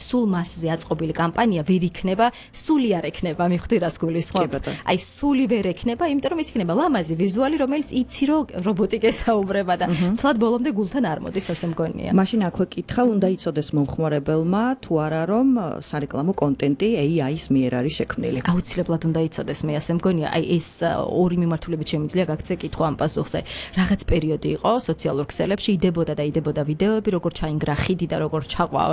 სულ მასზე აწყობილი კამპანია ვერ იქნება, სული არ ექნება, მივხვდი რას გულისხმობ. აი სული ვერ ექნება, იმიტომ რომ ის იქნება ლამაზი ვიზუალი, რომელიც იცი რომ რობოტი გესაუბრება და თლად ბოლომდე გულთან არ მოდის, ასე მგონია. მაშინ აქვე კითხა უნდა იცოდეს მომხმარებელმა თუ არა რომ სარეკლამო კონტენტი AI-ის მიერ არის შექმნილი. აუცილებლად უნდა იცოდეს, მე ასე მგონია. აი ეს ორი მიმართულებით შემიძლია გაქცე კითხვა ამ პასუხზე. რაღაც პერიოდი იყო სოციალურ ქსელებში, იდებოდა ვიდეოები, როგორ ჩაინგრა ხიდი და როგორ ჩაყვა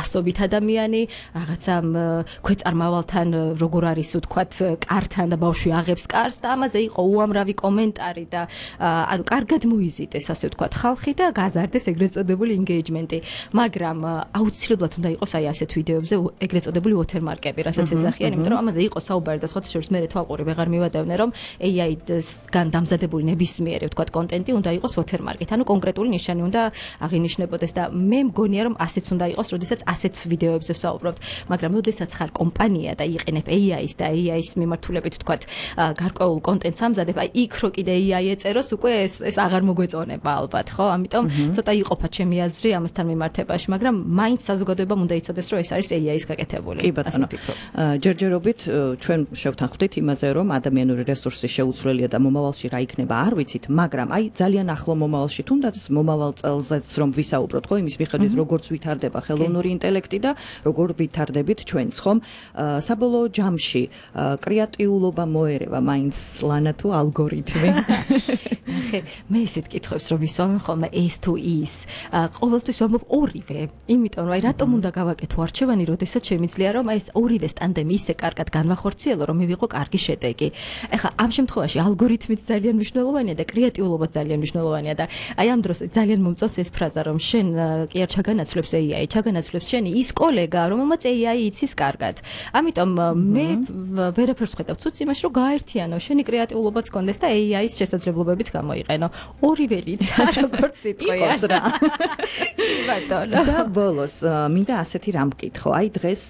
ასობით ადამიანი, რაღაცა ქვეწარმავალთან როგორ არის ვთქვათ კართან და ბავშვი აღებს კარს და ამაზე იყო უამრავი კომენტარი და ანუ კარგად მოიზიდეს ასე ვთქვათ ხალხი და გაზარდეს ეგრეთ წოდებული engagement-ი, მაგრამ აუცილებლად უნდა იყოს აი ასეთ ვიდეოებზე ეგრეთ წოდებული watermark-ები, რასაც ეძახიან, იმიტომ რომ ამაზე იყო საუბარი და სხვათა შორის მე თვალყური ვეღარ მივადევნე, რომ AI-დან დამზადებული ნებისმიერი ვთქვათ კონტენტი უნდა იყოს watermark-ით, ანუ კონკრეტული ნიშანი უნდა აღინიშნებოდეს და მე მგონია რომ ასეც უნდა იყოს, როდესაც ასეთ ვიდეოებზე ვსაუბრობთ, მაგრამ როდესაც ხარ კომპანია და იყენებ AI-ს და AI-ის მიმართულებით ვთქვათ გარკვეულ კონტენტს ამზადებ, აი იქ რო კიდე AI ეწეროს, უკვე ეს აღარ მოგვეწონება ალბათ, ხო? ამიტომ ცოტა იყოფა ჩემი აზრი ამასთან მიმართებაში, მაგრამ მაინც საზოგადოებამ უნდა იცოდეს, რომ ეს არის AI-ის გაკეთებული. კი ბატონო. ჯერჯერობით ჩვენ შევთანხმდით იმაზე, რომ ადამიანური რესურსი შეუცვლელია და მომავალში რა იქნება არ ვიცით, მაგრამ აი ძალიან ახლო მომავალში, თუნდაც მომავალ წელზეც რომ ვისაუბროთ, ხო, იმის მიხედვით როგორც ვითარდება ხელოვნური ინტელექტი და როგორ ვითარდებით ჩვენც, ხომ? საბოლოო ჯამში კრეატიულობა მოერევა მაინც ლანა თუ ალგორითმი? ხე, მე ესეთ კითხვებს რომ ვისვამებ ხოლმე ეს თუ ის. ყოველთვის ვამბობ ორივე, იმიტომ რომ აი რატომ უნდა გავაკეთო არჩევანი, როდესაც შემიძლია რომ აი ეს ორივე სტანდემი ისე კარგად განვახორციელო, რომ მივიღო კარგი შედეგი. ეხლა ამ შემთხვევაში ალგორითმიც ძალიან მნიშვნელოვანია და კრეატიულობაც ძალიან მნიშვნელოვანია და აი ამ დროს ძალიან მომწონს ეს ფრაზა, რომ შენ კი არ ჩაგანაცვლებს AI, ჩაგანაცვლებს შენი ის კოლეგა, რომელმაც AI იცის კარგად. ამიტომ მე ვერაფერს ვხედავ ცუც იმაში, რომ გააერთიანო შენი კრეატიულობაც კონდეს და AI-ის შესაძლებლობებიც გამოიყენო. ორივე ლიცა, როგორც სიტყვია. ბატონო. და ბოლოს მინდა ასეთი რამ ვკითხო. აი დღეს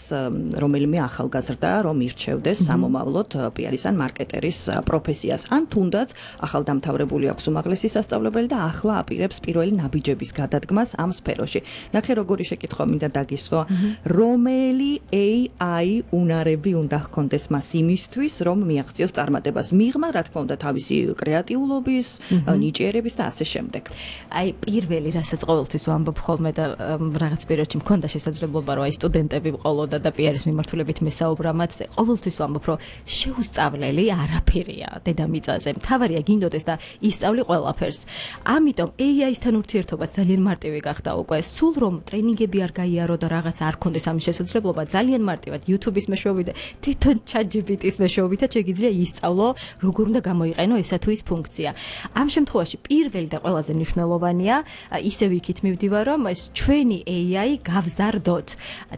რომელიმე ახალგაზრდა რომ ირჩევდეს სამომავლოდ PR-ის ან მარკეტერის პროფესიას, ან თუნდაც ახალდამთავრებული აქვს უმაღლესი სასწავლებელი და ახლა აპირებს პირველი ნაბიჯების გადადგმას ამ სფეროში. ნახე როგორი შეკითხვა მინდა დაგისვა, რომელი AI უნარები უნდა ჰქონდეს მას იმისთვის, რომ მიაღწიოს წარმატებას, მიღმა რა თქმა უნდა თავისი კრეატიულობის, ნიჭიერების და ასე შემდეგ. აი პირველი რასაც ყოველთვის ვამბობ ხოლმე და რაღაც პერიოდში მქონდა შესაძლებლობა რომ აი სტუდენტები ვყოლოდა და PR-ის მიმართულებით მესაუბრა მათზე, ყოველთვის ვამბობ რომ შეუსწავლელი არაფერია დედამიწაზე. მთავარია გინდოდეს და ისწავლი ყველაფერს. ამიტომ AI-სთან ურთიერთობა ძალიან მარტივი გახდა უკვე. სულ რომ ტრენინგები არ გაიარო და რაღაც არ ქონდეს ამის შესაძლებლობა, ძალიან მარტივად YouTube-ის მეშვეობით, თვითონ ChatGPT-ის მეშვეობითაც შეგიძლია ისწავლო, როგორ უნდა გამოიყენო ესა თუ ის ფუნქცია. ამ შემთხვევაში პირველი და ყველაზე მნიშვნელოვანია, ისევ იქით მივდივარ, რომ ეს ჩვენი AI გავზარდოთ.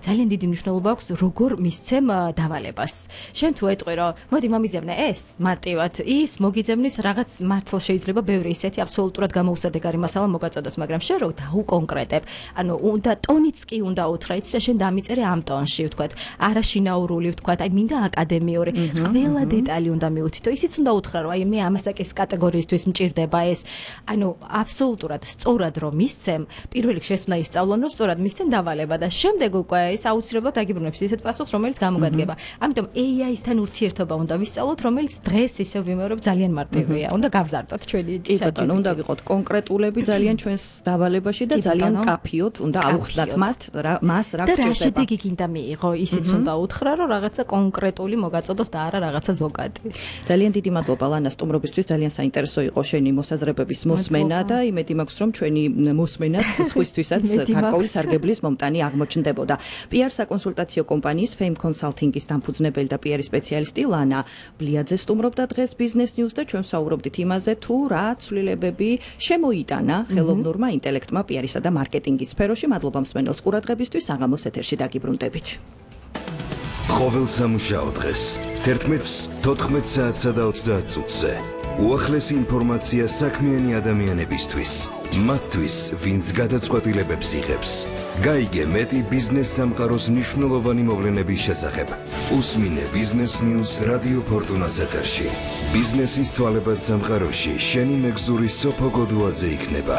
ძალიან დიდი მნიშვნელობა აქვს, როგორ მისცემ დავალებას. შენ თუ ეტყვი, რომ მოდი მომიძებნე ეს მარტივად, ის მოგიძებნის რაღაც მართლა შეიძლება ბევრი ისეთი აბსოლუტურად გამოუსადეგარი მასალა მოგაწოდოს, მაგრამ შენ რო დაუკონკრეტებ, ანუ უნდა ტონიც კი უნდა უთხრა, იცი რა შენ დამიწერე ამ ტონში, ვთქვათ, არაშინაურული, ვთქვათ, აი მინდა აკადემიური, ყველა დეტალი უნდა მიუთითო. ისიც უნდა უთხრა, რომ აი მე ამასაკის კატეგორიისთვის მჭირდება ეს. ანუ აბსოლუტურად სწორად რომ მისცემ, პირველ რიგში ეს უნდა ისწავლონ, რომ სწორად მისცემ დავალება და შემდეგ უკვე ეს აუცილებლად აგიბრუნებს ისეთ პასუხს, რომელიც გამოგადგება. ამიტომ AI-სთან ურთიერთობა უნდა ვისწავლოთ, რომელიც დღეს ისევ ვიმეორებ ძალიან მარტივია. უნდა გავზარდოთ ჩვენი ბატონო, უნდა ვიყოთ კონკრეტულები ძალიან ჩვენს დავალებაში და ძალიან კაფიოთ უნდა ავხსნათ მას რა გჭირდება. და რა შედეგი გინდა მიიღო, ისიც უნდა უთხრა, რომ რაღაცა კონკრეტული მოგაწოდოს და არა რაღაცა ზოგადი. ძალიან დიდი მადლობა ლანა სტუმრობისთვის, ძალიან საინტერესო იყო შენი მოსაზრებების მოსმენა და იმედი მაქვს, რომ ჩვენი მოსმენაც სხვისთვისაც გარკვეული სარგებლის მომტანი აღმოჩნდებოდა. PR საკონსულტაციო კომპანიის Fame Consulting-ის დამფუძნებელი და PR სპეციალისტი ლანა ბლიაძე სტუმრობდა დღეს Business News და ჩვენ ვსაუბრობდით იმაზე, თუ რა ცვლილებები შემოიტანა ხელოვნურმა ინტელექტმა PR-ისა და მარკეტინგის სფეროში. მადლობა მსმენელს ყურადღებისთვის, საღამოს ეთერში დაგიბრუნდებით. ყოველ სამუშაო დღეს 11:14 საათსა და 30 წუთზე უახლესი ინფორმაცია საქმიანი ადამიანებისთვის, მათთვის, ვინც გადაწყვეტილებებს იღებს. გაიგე მეტი ბიზნეს სამყაროს მნიშვნელოვანი მოვლენების შესახებ. უსმინე Business News რადიო ფორტუნას ეთერში. ბიზნესის ცვალებად სამყაროში შენი მეგზური სოფო გოდუაძე იქნება.